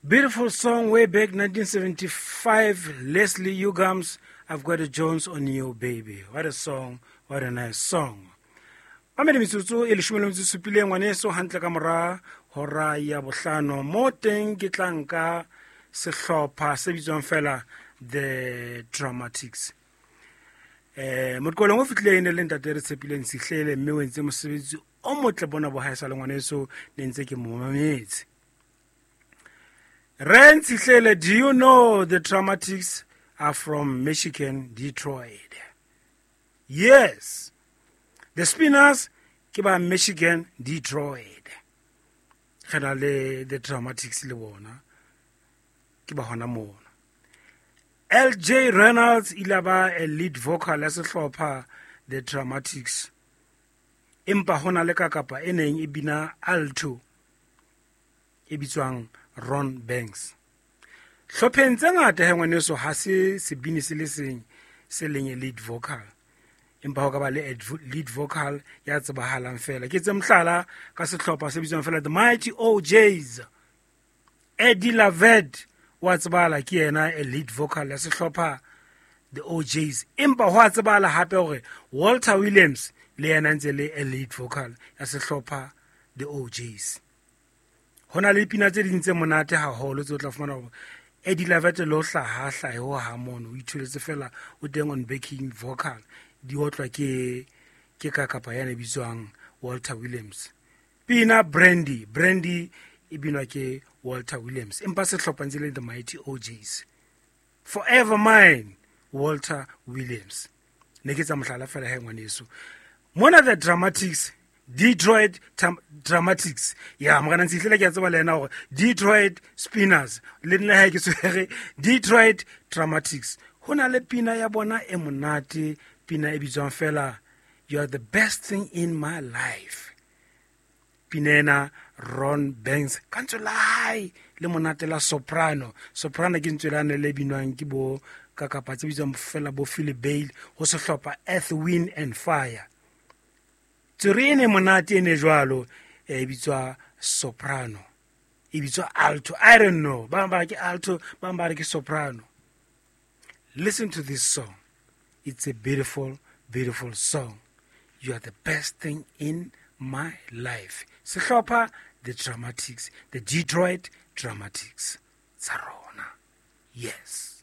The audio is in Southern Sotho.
Beautiful song way back 1975, Leslie Uggams, I've Got a Jones on You, Baby. What a song, what a nice song. Mamedi metsotso e leshome le metso e supileng ngwaneso hantle ka mora hora ya bohlano mo teng ke tla nka sehlopha se bitswang fela The Dramatics. Moqolong o fihlileng ne le ntate re tshepileng Sihlele mme o entse mosebetsi o motle bona bo hae sa le ngwaneso ne ntse ke mo mametse. Ren Sihlele, do you know the Dramatics are from Michigan, Detroit? Yes. The Spinners ke ba Michigan, Detroit. Re na le the Dramatics le bona. Ke ba hona mona. LJ Reynolds ile ba a lead vocal ya sehlopha The Dramatics. Empa hona le ka kapa e neng e bina alto e bitswang Ron Banks. Hlopheng tse ngata he ngwaneso ha se sebini se le seng se leng e lead vocal. Empa ho ka ba le lead vocal ya tsebahalang fela. Ke tse mohlala ka sehlopha se bitswang fela The Mighty OJs. Eddie Lavette wa tsebahala ke yena a lead vocal ya sehlopha The OJs. Empa ho a tsebahala hape hore Walter Williams le yena ntse le a lead vocal ya sehlopha The OJs. Ho na le dipina tse ding tse monate haholo tse o tla fumana hore Eddie Lavette le ho hlaha hlahe ho ha mono o itholetse fela o teng on backing vocal di otlwa ke ka kapa yana e bitswang Walter Williams. Pina Brandy, Brandy e binwa ke Walter Williams empa sehlopha ntse le The Mighty OJs. Forever Mine, Walter Williams. Ne ke tsa mohlala fela he ngwaneso. Mona The Dramatics, Detroit Dramatics. Ya morena Ntshihlele ke a tseba le yena hore Detroit Spinners le nna ha ke tshwere Detroit Dramatics. Ho na le pina ya bona e monate, pina e bitswang fela You Are the Best Thing in My Life. Pina ena Ron Banks ka ntswe la hae le monate la soprano. Soprano ke ntswe lane le binwang ke bo ka kapa tse bitswang fela bo Philip Bailey ho sehlopha Earth, Wind and Fire. Tswere e ne monate e ne jwalo e bitswa soprano, e bitswa alto. I don't know, ba bang ba re ke alto, ba bang ba re ke soprano. Listen to this song. It's a beautiful, beautiful song. You are the best thing in my life. Sehlopha The Dramatics, the Detroit Dramatics. Tsa rona. Yes.